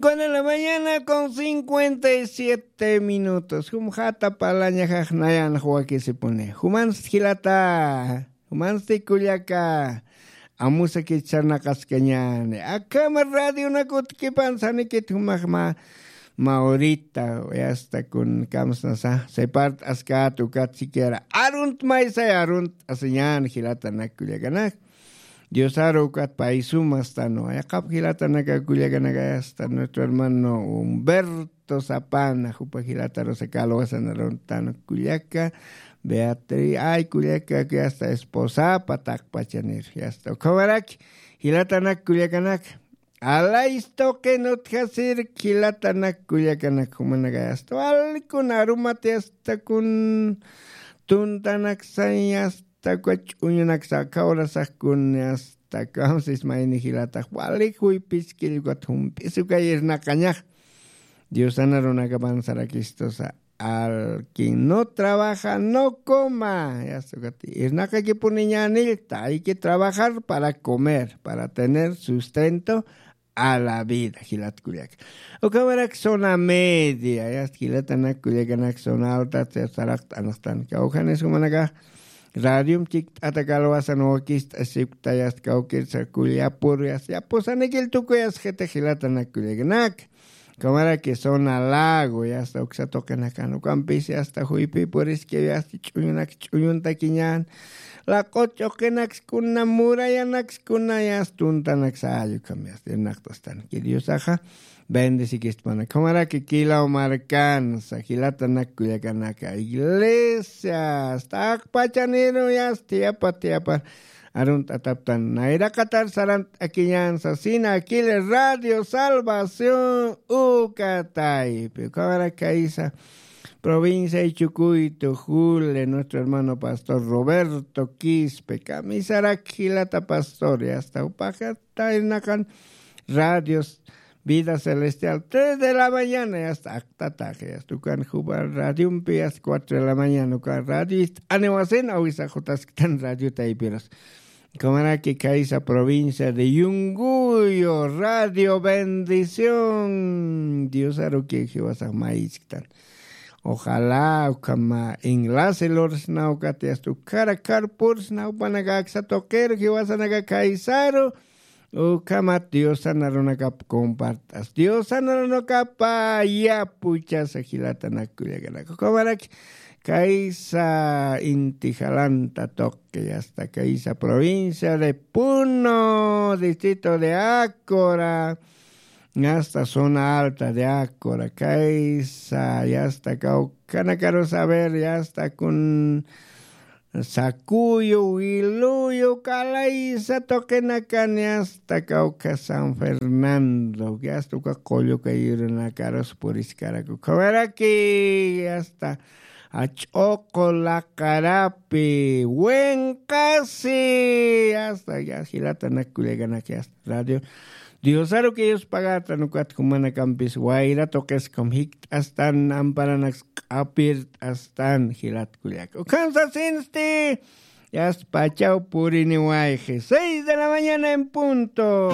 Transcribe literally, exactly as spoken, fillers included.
Con la mañana con cincuenta y siete minutos. Jum jata parlañajax nayan wakisipuni. Jumansti jilata. Jumansti kullaka. Amusa kicharnaqaskañani. Akama radionakut kipan sanikit jumaxma. Maurita, yasta kun kamsnasa. Separt askat ukat siquiera. Arunt maysay arunt asiñan jilatanak kullakanak. Diosaru ukat paysumastan, wayaqap jilatanaka kullakanaka yasta, nuestro hermano Humberto Zapana, jupa jilatarusa kalwasanaruntan kullaka, Beatriz, ay kullaka, que hasta esposapa taqpachanir, yasta, ukhamaraki, jilatanak kullakanak, alaystoqin utjasir, jilatanak kullakanak, jumanaka yasta, walkun arumati yasta, kun tuntanak sañas, Takwa ch'uñunaksa, kawrasakun, asta kamsis mayni jilatax, walik juypiskillkut jump'isukay irnaqañax. Diosana runakapan sarakistusa, al quien no trabaja, no coma. Yasta ukat, irnaqakipuniñanillta, hay que trabajar para comer, para tener sustento a la vida, jilat kullaka. Ukamarak zona media, yasta jilatanak kullakanak zona alta, saraqt'anaqtan. Kawjanis jumanaka, radium chikt'ata kalwasan wakist'asipkta, yasta kawkirsa kullapur, yasta yapusanikil tukuyas jita jilatanak kullakanak. Ukamaraki zona lago, yasta uksa tuqinakan, ukampis yasta juypi puriski, yasta ch'uñunak ch'uñuntakiñan, laq'ut ch'uqinaksuna, murayanakskuna, yasta tuntanaksa, ay ukham yasta irnaqtastan. Que Diosaxa bendesikistmana. Ukhamaraki kilaw markansa, jilatanak kullakanaka, iglesias, taqpachaniru yasta, yapa, yapa, arunt'ataptan, nayraqatar sarant'akiñan sasina, kil Radio Salvación, ukataypi. Ukhamaraki kaysa, provincia Ichucuito, Jule, nuestro hermano pastor Roberto Quispe, kamisarak jilata pastor, yasta, upaxata irnaqan radios, Vida Celestial, tres de la mañana, yasta, aktatax, yasta, ukan jupa radiumpi, yasta, cuatro de la mañana, ukan radio, yasta, aniwasin, awisa jutasktan radio taypirus. Ukhamaraki kaysa provincia de Yunguyo, Radio Bendición. Diosaruki jiwasax mayisktan. Ojalá ukhama enlace lursna ukat yasta ukhara karpursna upanaka aksa tuqiru jiwasanaka kaysaru. Ukhamat Diosana runakap compartas. Diosana runakapa yapuchasa jilatanak kullakanaka. Ukhamaraki kaysa inti jalanta tuqi, yasta kaysa provincia de Puno, distrito de Ácora, yasta zona alta de Ácora, kaysa, yasta kawkanakarus, a ver, yasta kun Sakuyu, Wiluyu, kalaysa tuqinakan, yasta kawkha San Fernando, yasta uka qullu kayurunakarus puriskaraku. Ukhamaraki, yasta Ach'uqu, Laqarapi, Wenqasi, yasta, ya, jilatanak kullakanak, yasta radio Diosaruki yuspagatan ukat jumanakampis wayra tuqiskum jikt'astan, amparanaks q'apirt'astan, jilat kullaka. Ukhan sasinsti, yasta pachaw puriniwayxi, seis de la mañana en punto.